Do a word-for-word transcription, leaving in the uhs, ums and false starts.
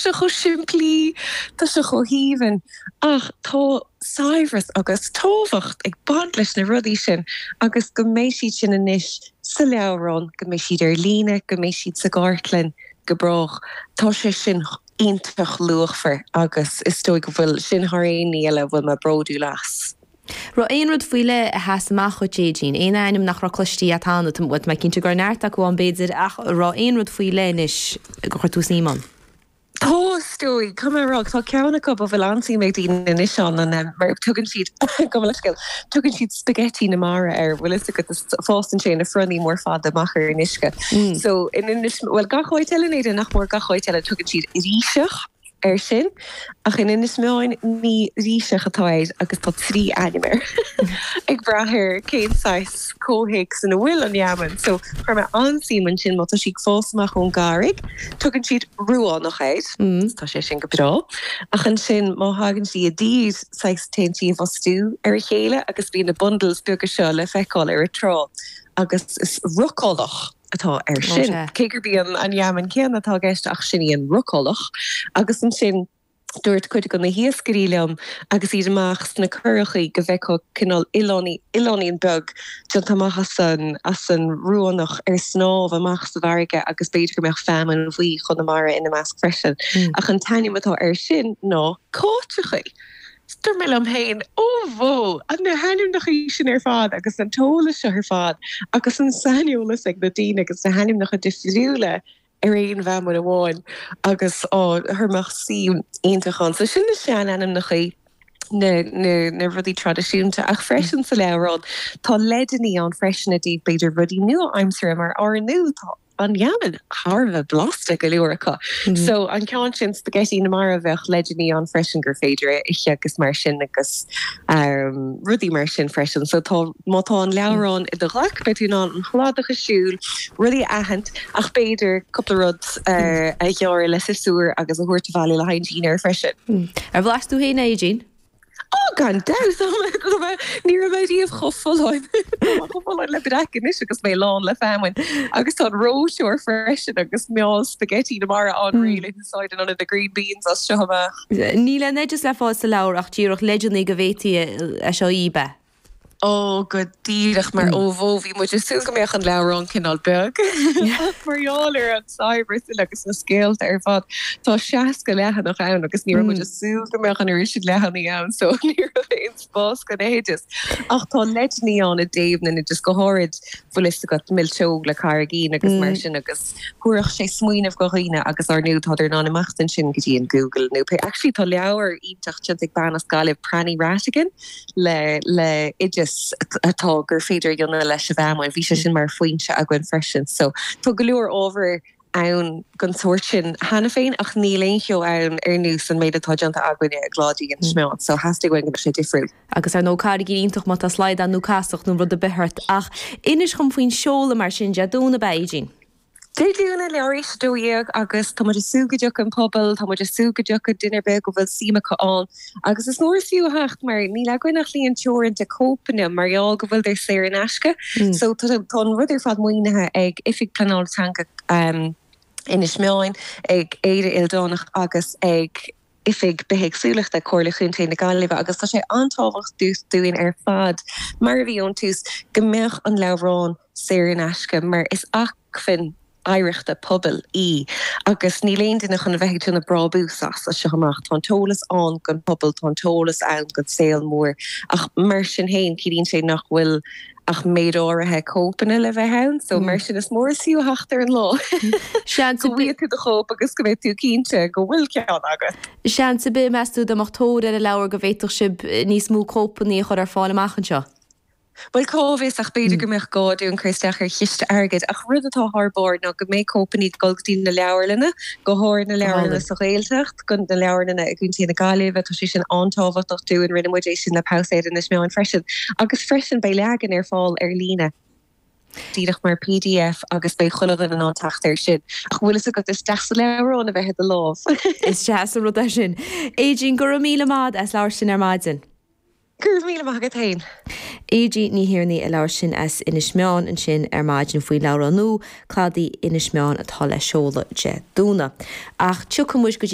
sé chomh simplí tá sé chomh haoibhinn ach tá saibhreas agus tábhacht ag baint leis na rudaí sin agus go mbeidh siad sin anois sa leabhrán, go mbeidh siad ar líne, go mbeidh siad sa gcartlann go brách. Tá sé sin iontach luachmhar agus is dóigh go bhfuil sin thar aon ní eile a bhfuil mé bródúil as. Raibh aon rud faoi leith a sheas amach dhuit Aedín, aon ainm nach raibh cloiste agat cheana, bhuel tá mé cinnte go raibh neart acu ann b'fhéidir ach raibh aon rud faoi leith anois gur chuir tú suim ann? Tá, is dóigh, caithfidh mé a rá, tá ceann acu a bhfuil an-suim ag daoine anois ann, an mar tugann siad, gabh mo leithscéal, tugann siad spaghetti na mara air, bhfuil fhios agat, fásann sé ina fronnaí mór fada amach ar an uisce. So, in Inis, bhuel gach áit eile in Éirinn, nach mór gach áit eile, tugann siad ríseach air sin, ach in Inis Meáin ní ríseach atá air agus tá trí ainm air, ag brath ar cén saghas comhthéacs ina bhfuil an fheamainn. So, chuir mé an-suim ansin, má tá sí ag fás amach ón gcarraig, tugann siad ruánach air, tá sé sin go breá, ach ansin má thagann sí i dtír, saghas téann sí i bhfostú ar a chéile agus bíonn na bundles beaga seo le feiceáil ar an trá agus is rocálach atá air sin. Cé gurb í an fheamainn céanna atá i gceist ach sin í an rocálach. Agus ansin dúirt cuid de na hiascairí liom agus iad amach sna curachaí go bhfeicfeá cineál oileáinín, oileáinín beag déanta amach as an, as an ruánach ar snámh amach sa bhfarraige agus b'fhéidir go mbeadh feamainn bhuí Chonamara ina measc freisin. Ach an t-ainm atá air sin ná cáiteachaí. Dúirt mé liom féin, Ó bhó! Na hainmneacha sin ar fad agus an t-eolas seo ar fad agus an saineolas ag na daoine agus na hainmneacha difriúla ar aon bhfeamainn amháin agus á, chuir mé suim iontach ann. So sin na seanainmneacha, na, na, na rudaí traidisiúnta ach freisin sa leabhrán tá leideanna ann freisin i dtaobh b'fhéidir rudaí nua-aimseartha mar ár ndóigh tá an fheamainn thar a bheith blasta go leor acu. So an ceann sin spaghetti na mara bheadh leideanna ann freisin gur féidir é a ithe agus mar sin agus um, rudaí mar sin freisin. So tá má tá an leabhrán i do ghlac beidh tú in ann an cladach a siúl, rudaí a aithint ach b'fhéidir cúpla rud uh, a ghearradh le siosúr agus a thabhairt abhaile le haghaidh an dinnéar freisin. Ar bhlas tú féin é Aedín? Ó gan dabht ní raibh mé riamh chomh folláin chomh folláin le breac anois agus mé lán le feamainn agus tá an reoiteoir freisin agus meall spaghetti na mara ann réidh le húsáid in ionad na green beans as seo amach. Níl aon oideas le fáil sa leabhar ach díreach leideanna go bhféadfaí é seo a ithe. Ó go díreach mar ó bhó bhí muid ag súil go mbeadh an leabhrán cineál beag mar gheall ar an saibhreas uile agus na scéalta ar fad. Tá seasca leathanach ann agus ní raibh muid ag súil go mbeadh an oiread sin leathanaigh ann so ní raibh aon spás don oideas. Ach tá leideanna ann i dtaobh na n-oideas go háirid bhfuil fhios agat milseog le carraigín agus mar sin agus thabharfadh sé smaoineamh do dhaoine agus ar ndóigh tá in ann imeacht ansin go dtí an Google nó pé actually tá leabhar iontach déanta ag bean as Gaillimh Pranny Ratigan le le oideas atá gur féidir a dhéanamh leis an bhfeamainn. Bhí sé sin mar foinse againn freisin. So tá go leor ábhar ann den sórt sin cheana féin ach níl aon cheo ann ar nós an méid atá déanta againne i gCladaí Inis Meáin. So theastaigh uainn go mbeadh sé difriúil. Agus ar ndóigh carraigín iontach má tá slaghdán nó casacht nó rud ar bith ort. Ach inis dhom faoin seoladh mar sin Dé Domhnaigh ab ea Aedín? Dé Domhnaigh leathuair tar éis a dó dhéag agus tá muid ag súil go dtiocfaidh an pobal, tá muid ag súil go dtiocfaidh duine ar bith go bhfuil suim acu ann agus is mór is fiú a theacht mar níl againn ach líon teoranta cóipeanna mar gheall go bhfuil saor in aisce. So tá an rud ar fad maoinithe ag Oifig Pleanála Teanga um, Inis Meáin, ag Éire Ildánach agus ag Oifig Bithéagsúlachta Comhairle Chontae na Gaillimhe agus tá sé an-tábhachtach dúinn ar fad mar a bhí ón tús go mbeadh an leabhrán saor in aisce mar is acmhainn oidhreachta pobail í agus níl aon duine chun a bheith ag déanamh brabús as as seo amach tá an t-eolas ann don pobal tá an t-eolas ann don saol mór ach mar sin féin ciallaíonn sé nach bhfuil ach méid áirithe cóipeanna le bheith ann so mar sin is mór is fiú a theacht ar an lá Seans go bhfaighidh tú do chóip agus go mbeidh tú cinnte go bhfuil ceann agat. Seans ar bith meas tú dá mbeadh tóir ar an leabhar go bhféadfadh sibh níos mó cóipeanna a chur ar fáil amach anseo. Well cá bhfios ach b'fhéidir go mbeadh gá dúinn cur isteach ar chiste airgid ach rud atá thar barr ná go mbeidh cóipeanna ag dul go dtí na leabharlanna, go háirithe na leabharlanna sa Ghaeltacht, go na leabharlanna i gContae na Gaillimhe, tá sé sin an-tábhachtach dúinn rinne muid é sin le Pabhsaeir Inis Meáin freisin. Agus freisin beidh leagan ar fáil ar líne. díreach mar PDF agus beidh chuile dhuine in ann teacht air sin. Ach bhfuil fhios agat is deas an leabhrán a bheith i do lámh. Is deas an rud é sin. Aedín go raibh míle maith as labhairt linn ar maidin. Go raibh míle maith agat féin. Aedín Ní Thiarnaigh a labhair sin as Inis Meáin ansin ar maidin faoi leabhrán nua Cladaí Inis Meáin atá le seoladh Dé Domhnaigh. Ach tiocfaidh muid go dtí